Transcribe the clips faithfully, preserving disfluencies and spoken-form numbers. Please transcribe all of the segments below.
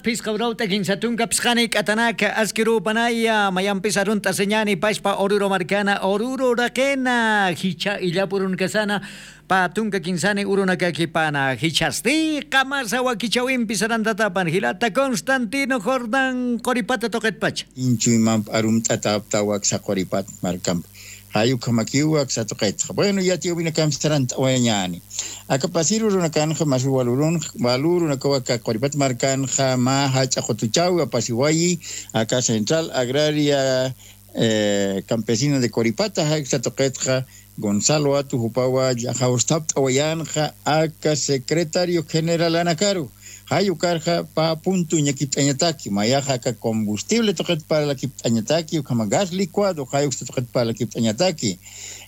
Phisqa urawt'a kinsa tunka phisqani k'atanaka askirupanaya mayampis arunt'asiñani pachpa Oruro markana Oruro uraqina jichha illap urunakasana. Pä tunka kinsani urunakakipana jichhasti qamasa wakichäwimpi sarantatapan jilata Constantino Jordán quripata tuqitpacha. Inchuymamp arumt'atäptaw aksa quripat markamp. Jay ukhamakiw aksa tuqitxa. Bueno, yatiyäwinakamp sarant'awayañäni. Aka pasir urunakanxa mas wal urunxa, wal urunakaw aka quripat markanxa mä jach'a qutuchäwi apasiwayi, aka Central Agraria, eh, Campesina de Coripata, jay aksa tuqitxa Gonzalo Atu jupawa jawstapt'awayänxa aka secretario generalanakaru. Jay ukarxa pä punto uñakipt'añataki, mayaxa aka combustible tuqit parlakipt'añataki, ukhama gas licuado, jay uksa tuqit parlakipt'añataki.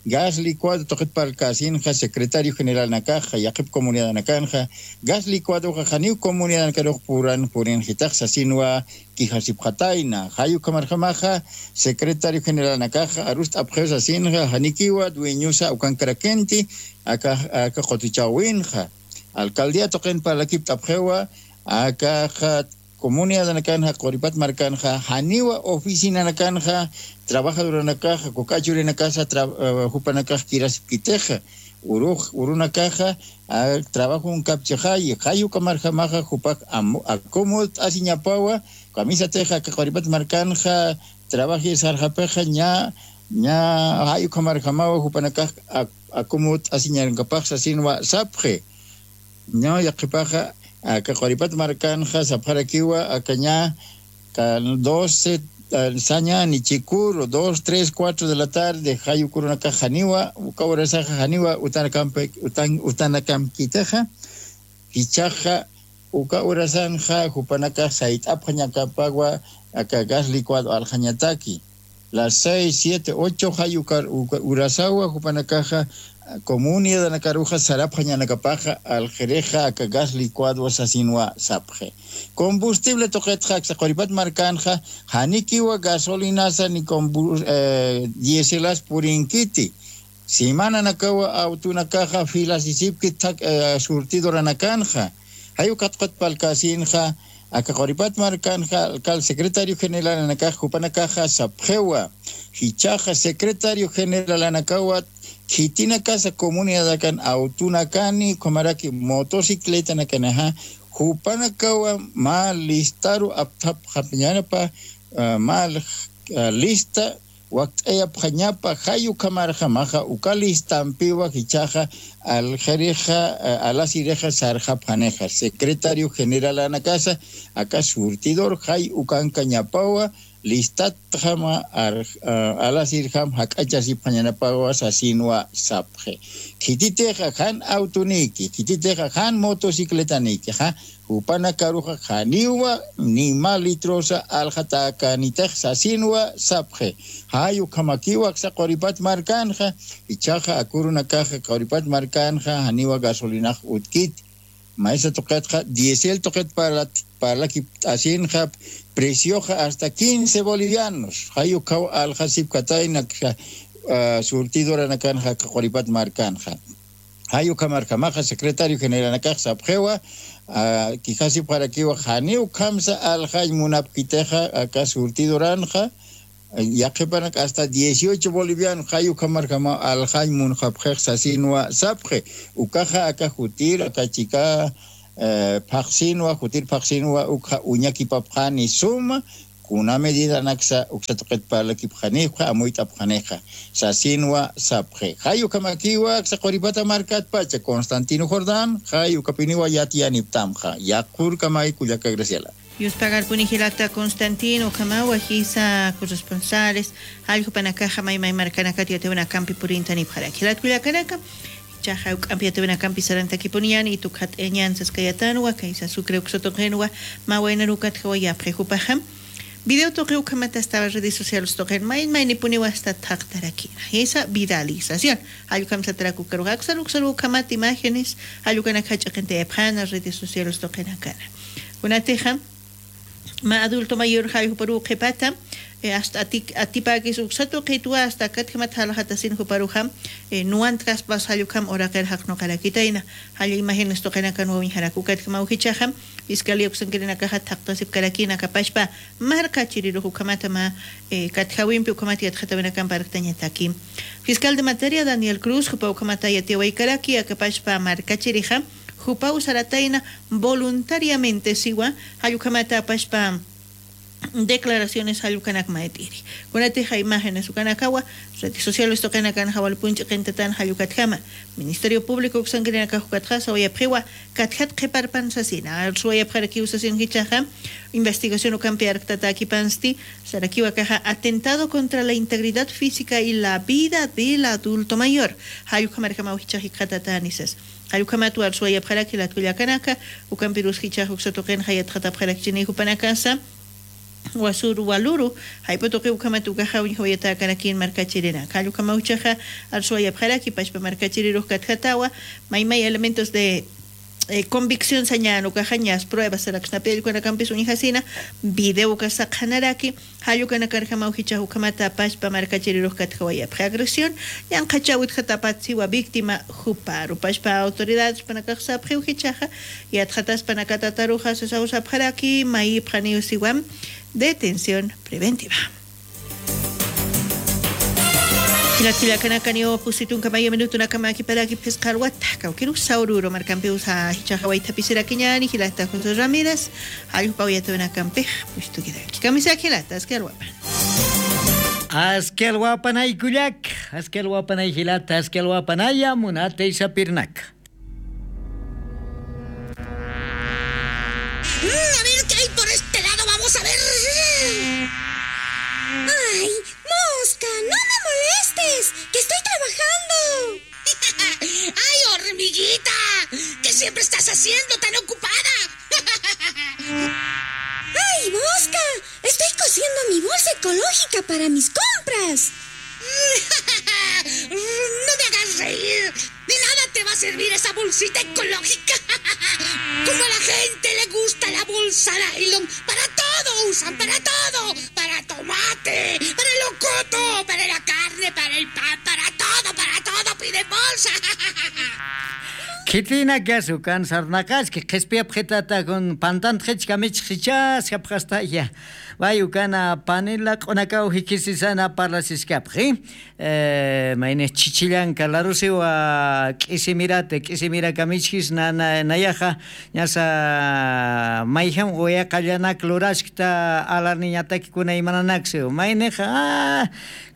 Gas licuado tuqit parlkäsinxa secretario generalnakaxa, yaqhip comunidadnakanxa, gas licuadoxa janiw comunidadnakarux puran purinxitax sasinwa quijasipxatayna. Jay ukhamarjamaxa secretario generalnakaxa arust'apxiw sasinxa, janikiwa dueñosa ukankarakïnti aka, aka qutuchäwinxa. Alcaldía tuqin parlakipt'apxiwa, akaxa comunidadnakanxa, quripat markanxa, janiwa oficinanakanxa, trabajadoranakaxa, kuk'a churinakasa, tra-, eh, jupanakax kirasipkitixa, urux, urunakaxa, a, trabajonkapchixayi, jay ukamarjamaxa, jupax am-, acomodt'asiñapawa, kamisatixa, aka quripat markanxa, trabajir sarxapixa, ña, ña, jay ukamarjamawa, jupanakax, a, acomodt'asiñankapax sasinwa sapxi. Ña, yaqhipaxa, aka quripat markanxa sapxarakiwa, aka ña, ka doce, ah, sañäni chikuru, dos, tres, cuatro de la tarde, jay uk urunakax janiwa, uka urasaxa janiwa, utanakampi-, utan-, utanakamkitixa, jichhaxa, uka urasanxa, jupanakax sayt'apxañakapawa, aka gas licuado alxañataki. Las seis, siete, ocho jay ukar-, uka-, urasawa jupanakaxa, comunidadnakaruxa sarapxañanakapaxa, alxirixa aka gas licuado sasinwa sapxi. Combustible tuqitxa aksa quripat markanxa, janikiwa gasolinasa ni combu-, eh, dieselas purinkiti. Semananakawa autonakaxa filasisipki thak-, eh, surtidoranakanxa. Jay ukat qutpalkäsinxa, aka quripat markanxa, alcalde secretario generalanakax jupanakaxa sapxiwa. Jichhaxa secretario generalanakawa khitinakasa comunidadakan autonakani, ukhamaraki motocicletanakanixa, jupanakawa mä listaru apthapxapañanapa, ah, mä, ah, lista wakt'ayapxañapa, jay ukhamarjamaxa, uka listampiwa jichhaxa, alxirixa, eh, alasirixa sarxapxanixa, secretario generalanakasa, aka surtidor, jay ukankañapawa, listatjama, ar-, eh, alasirjam jak'achasipxañanapawa, sasinwa sapxi. Khititixa, jan autoniki, khititixa, jan motocicletanikixa, jupanakaruxa janiwa ni mä litrosa alxatäkänitix sasinwa sapxi. Jay ukhamakiwa aksa quripat markanxa, jichhaxa ak urunakaxa quripat markanxa janiwa gasolinax utkiti. Maysa tuqitxa, diésel tuqit parlat-, parlakipt'asinxa, precioxa hasta quince bolivianos. Jay ukhaw alxasipkatayna, ah, surtidoranakanxa, quripat markanxa. Jay ukhamarjamaxa secretario generalnakax sapxiwa, ah, quijasipxarakiwa, janiw ukhamsa alxañ munapkitixa aka surtidoranxa, yaqhipanak hasta dieciocho boliviano, jay ukhamarjamaw alxañ munxapxix sasinwa sapxi, ukaxa aka jutir, aka chika, eh, phaxsinwa, jutir phaxsinwa, ukxa uñakipapxani suma, kuna medidanaksa uksa tuqit parlakipxanipxa, amuyt'apxanixa, sasinwa sapxi. Jay ukhamakiwa aksa quripata markatpacha, Constantino Jordán, jay ukapiniwa yatiyaniptamxa. Yaqhurkamay kullaka Graciela. Yuspagarpuni jilata Constantino, ukhamawa jisa corresponsales, jallkupanakaxa may may markanakat yatiyawinakampi purintanipxaraki. Jilat kullakanaka, jichhaxa jawk'ampi yatiyawinakampi sarantakipuniyani, tukxat'ayañan saskayatanwa, kaysa sucre uksa tuqinwa, mä waynarukat jawayapxi jupaxa. Video tuqi ukhamat hasta redes sociales tuqin, may maynipuniwa hasta thaqtarakina. Jisa viralización. Jallkhamsatarak ukaruxa, aksan uksaru ukhamat imágenes, jallkanak jach'aqintayapxana redes sociales tuqinakana. Kunatixa, mä adulto mayor jay juparu qhipata, eh, hasta atik-, atipäkis uksa tuqitwa, hasta akatjamat jalxatasin juparuxa, eh, nuwant kaspas jall ukham uraqir jaqnuqarakitayna. Jall imágenes tuqinakan wawiñjarak ukatjamaw jichhaxa, fiscalía uksankirinakaxa thaqtasipkarakïna akapachpa markachirirux ukhamatama, eh, katjawimpi ukhamat yatxatawinakampi arktañataki. Fiscal de materia Daniel Cruz jupa ukhamata yatiyawaykaraki akapachpa markachirixa, jupaw saratayna voluntariamente siwa, jall ukhamata apachpa declaraciones jall ukanak mayt'iri. Kunatixa imágenes ukanakawa, redes sociales tuqinakan jawalpunch'i qintatan jall ukatjama. Ministerio Público uksankirinakax ukatxa sawayapxiwa, katjat qhiparpan sasina. Arsuwayapxarakiw sasin jichhaxa, investigación ukampi arktatakipansti, sarakiwa akaxa atentado contra la integridad física y la vida del adulto mayor. Jall ukhamarjamaw jichhax jikxatatäni sas. Jall ukhamat arsuwayapxaraki jilat kullakanaka, ukampirus jichhax uksa tuqinxa yatxatapxarakchini jupanakasa, wasur waluru, jayp'u tuqi ukhamat ukaxa uñjawayatäkarakïn markachirinak. Jall ukhamaw jichhaxa arsuwayapxaraki, pachpa markachirirux katjatawa, may may elementos de, eh, convicción sañän ukaxa ñas pruebas saraksnapi allkunakampis uñjasina, video uka saqhanaraki, jall ukanakarjamaw jichhax ukhamata pachpa markachirirux katjawayapxi. Agresión ñanqhachäwit jatapat siwa víctima juparu. Pachpa autoridades panakax sapxiw jichhaxa, yatxataspanakatataruxa sasaw sapxaraki, mayipxaniw siwa detención preventiva. Jilat kullakanakaniw pusi tunka mayu minutunakama kiparaki phisqa alwata, kawkirus Oruro markampiw sa jichhaxa waythapisirakiñäni, jilata José Ramírez, jall jupaw yatiyawinakampix pusi tukirak. Kamisaki jilata, aski alwapan. Aski alwapanay kullak, aski alwapanay jilata, aski alwapanaya munatay sapirnaka. Mm, a ver qué hay por este lado, vamos a ver. Ay, Mosca, no me molestes, que estoy trabajando. Ay, hormiguita, ¿qué siempre estás haciendo tan ocupada? Ay, Mosca, estoy cosiendo mi bolsa ecológica para mis compras. No me hagas reír. De nada te va a servir esa bolsita ecológica. Como a la gente le gusta la bolsa nylon, para todo usan, para todo. Para tomate, para el locoto, para la carne, para el pan, para todo, para todo piden bolsa. Khitinakasu kan sarnaqaski, qhispiyapxitata kun pantanxich kamichxichas japxastaya. Wayukana panila q'unakaw jikhisisana parlasiskapxi. Eh, mayni chichillanka larusiwa k'isimirata, k'isimiraka michkis na, na, nayaxa, ñasa mayjam uyaqallanak luraskta alarniñataki kuna imananaksiw. Maynixa, ah,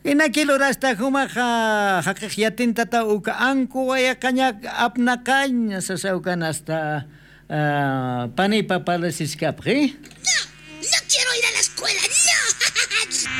inaki lurasta jumaxa, jaqix yatintata uka anku wayaqañak apnaqañ, sasawkan hasta, ah, panipa parlasiskapxi. No, no quiero ir a la escuela, no.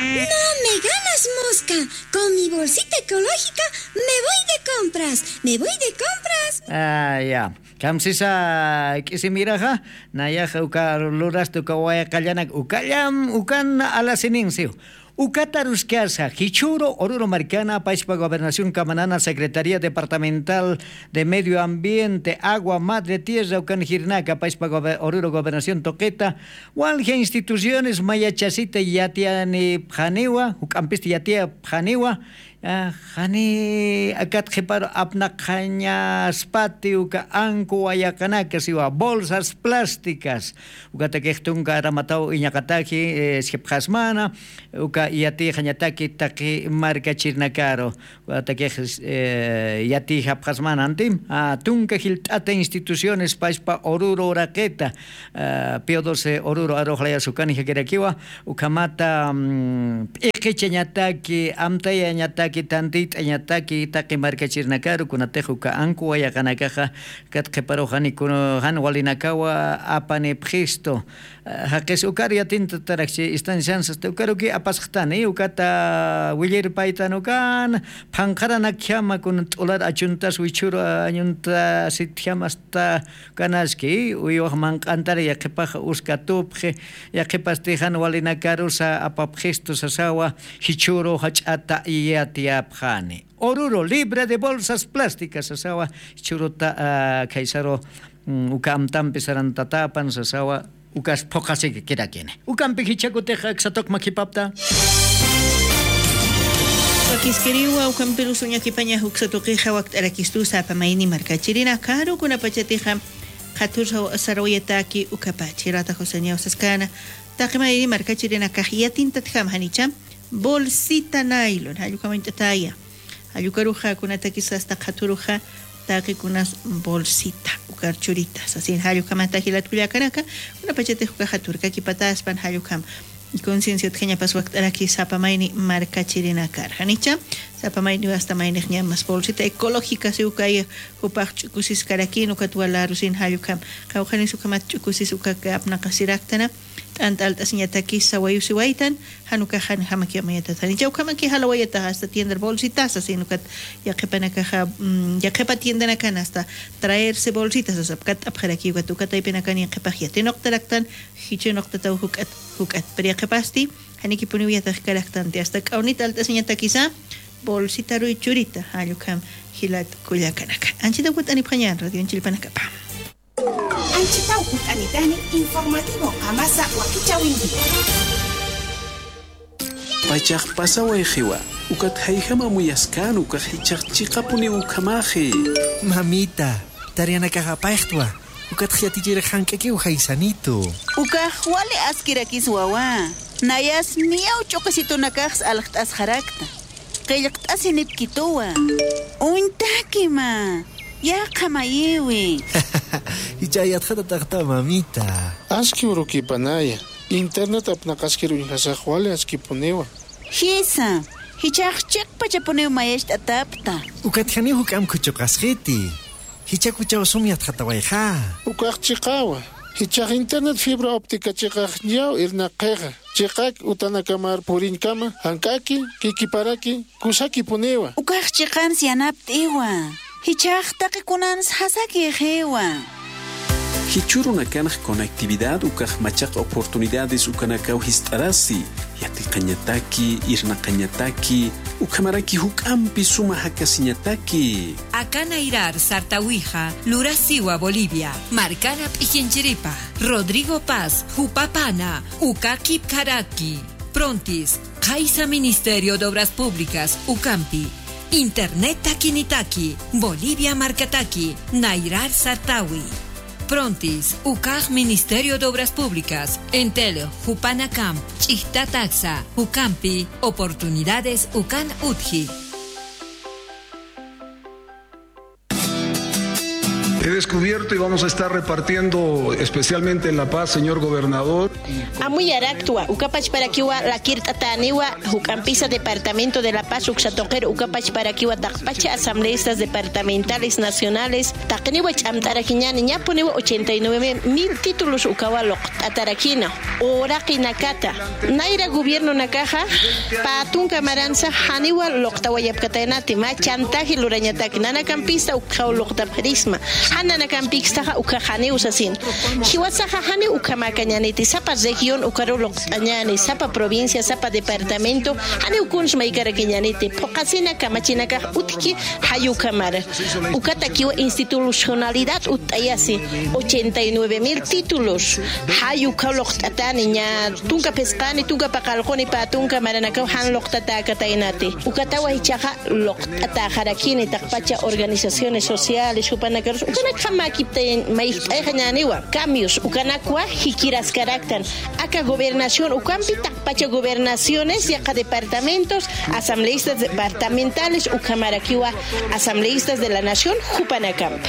No me ganas, Mosca. Con mi bolsita ecológica me voy de compras, me voy de compras. Ah, ya. Kamsisa k'isimiraxa, nayaxa uka lurasta uka wayaqallanak ukallam, ukan alasininsiw. Ukataruskasa, jichhüru Oruro markana, pachpa gobernación kamanana, Secretaría Departamental de Medio Ambiente, Agua, Madre Tierra, ukan jirnaka, pachpa gobe-, Oruro gobernación tuqita, walja instituciones mayachasita yatiyanipxaniwa, juk'ampisti yatiyapxaniwa, ah, jani akat qhiparu apnaqañaspati uka anku wayaqanaka siwa bolsas plásticas, ukatakix tunka aramataw iñaqataki, eh, sipxasmana, uka yatixañataki taqi markachirnakaru, ukatakix, eh, yatixapxasmana antim, ah, tunka jilt'ata instituciones pachpa Oruro uraqita, ah, Pío doce Oruro arux layas ukan jakirakiwa, ukhamata, mm, p'iqichañataki, amtayañataki, tantit'añataki, taqi markachirnakaru, kunatix uka anku wayaqanakaxa, kat qhiparuxani kun-, jan walinakawa apanipxistu. Ah, jaqis ukar yatintatarakchi, instanciansas, ukaruki apasxtani, ukata willirpaytan ukan, phanqharanakjama kun t'ular achuntas wichhüru añuntasitjama asta kanaski, uywax manq'antar yaqhipax uskatupxi, yaqhipasti jan walinakarusa apapxistu sasawa, jichhüru jach'ata yatiyapxani. Oruro libre de bolsas plásticas sasawa, jichhüruta, ah, khaysaru, mm, uka amtampi sarantatapan sasawa, ukas phuqhasikirakini. Ukampi jichhakutix aksa tuqma khipapta. Wakiskiriwa, ukampirusa uñakipaña uksa tuqixa wakt'arakistusa sapa mayni markachirinakaru, kunapachatixa qhatur sarawayataki ukapachi. Rata José Ñaw saskana, taqi mayni markachirinakax yatintatjam janicha bolsita nylon, jallukamañt'ataya. Jallukaruxa kunatakis asta qhaturuxa taqikunas bolsita ukar churita sasin, jallukhamata jilat kullakanaka, kunapachatix ukaxa turkakipataspan, jallukam conciencia utjañapas wakt'araki sapa mayni markachirinakar. Janicha, sapa mayni asta maynix ñamas bolsita ecológica si ukay jupax ch'ukusiskarakin ukat walarusin, jallukam qawqhanis ukhamat ch'ukusis ukak apnaqasiraktana, t'ant'a alt'asiñatakis sawayusiwaytan, jan ukax jan jamakiw amayatata. Janicha ukhamaki jalawayataxa asta tiendar bolsitasa, sino ukat yaqhipanakaxa, mm, yaqhipa tiendanakan asta traerse bolsitasa sap, kat'apxarakiw ukat, uka taypinakan yaqhipax yatinuqtaraktan, jichhunuqtataw juk'at, juk'at. Pero yaqhipasti janikipuniw yatiqkaraktanti, asta k'awnit alt'asiñatakisa bolsitaruy churita, jallukam jilat kullakanaka. Anchita ukut'anipxañan radioñ chillpanakapa. Anchitaw ut'anitani informativo qamasa wakichäwinkiwa. Pachax pasawayxiwa, ukat jayjam amuyaskäna, ukax jichhax chiqapuniw ukhamaxi. Mamita, tareanakax apayxtwa, ukatx yatichirix jank'akiw jaysanitu. Ukax wali askirakis wawa, nayas niyaw ch'uqisitunakax aljt'asxarakta. Qillqt'asinipkituwa. Uñtakima. Yaqha mayiwi. Jichha yatxatataqta, mamita. Aski urukipanaya. Internet apnaqaskir uñjasax wali askipuniwa. Jisa, jichhax chiqpachapuniw mayacht'atapta. Ukat janiw juk'amp khuchuqasxiti. Jichhakuchaw sum yatxatawayxa. Ukax chiqawa. Jichhax internet fibra óptica chiqax ñaw irnaqxixa. Chiqak utanakamar puriñkama, jank'aki, kikiparaki, kusakipuniwa. Ukax chiqans yanapt'iwa. Jichhax taqi kunans jasakixiwa. Jichhürunakanx conectividad ukax machaq oportunidades ukanakaw jist'arasi, yatiqañataki, irnaqañataki, ukhamaraki juk'ampi suma jakasiñataki. Aka nayrar sartawixa lurasiwa Bolivia, markana p'ikinchiripa, Rodrigo Paz, jupapana, uka kipkaraki. Prontis, qhaysa Ministerio de Obras Públicas, ukampi. Internet takinitaki, Bolivia markataki, nayrar sartawi. Prontis, ukax Ministerio de Obras Públicas, Entel, jupanakamp, ch'ijtataksa, ukampi, oportunidades ukan utji. He descubierto y vamos a estar repartiendo especialmente en La Paz, señor gobernador. Amuyaraktwa, uka pachparakiwa lakirt'atäniwa, juk'ampisa Departamento de La Paz uksa tuqir uka pachparakiwa taqpacha asambleístas departamentales nacionales, taqiniwa ch'amt'arakiñäni, ñapuniwa ochenta y nueve mil títulos ukawa luqt'atarakina. Uraqinakata, nayra gobiernonakaxa, pä tunka maransa janiwa luqtawayapkataynati, mä chantaje lurañataki, nanakampista ukxaw luqtapxirisma, jan nanakampikstaxa ukxa janiw sasin. Jiwasaxa janiw ukhamäkañäniti, sapa región ukaruw luqt'añäni, sapa provincia, sapa departamento, janiw kuns maykarakiñäniti, phuqhasina kamachinakax utjki jay ukhamar. Ukatakiwa institucionalidad utt'ayasi, ochenta y nueve mil títulos. Jay ukhaw luqt'atäni, ña tunka phisqani, tunka paqallquni, pä tunka maranakaw jan luqtatäkataynati. Ukatawa jichhaxa luqt'atäxarakini taqpacha organizaciones sociales, jupanakarus, ukanakxa mäkiptay, mayjt'ayxañäniwa. Cambios, ukanakwa jikiraskaraktan. Aka gobernación ukampi taqpacha gobernaciones, yaqha departamentos, asambleístas departamentales, ukhamarakiwa asambleístas de la nación, jupanakampi.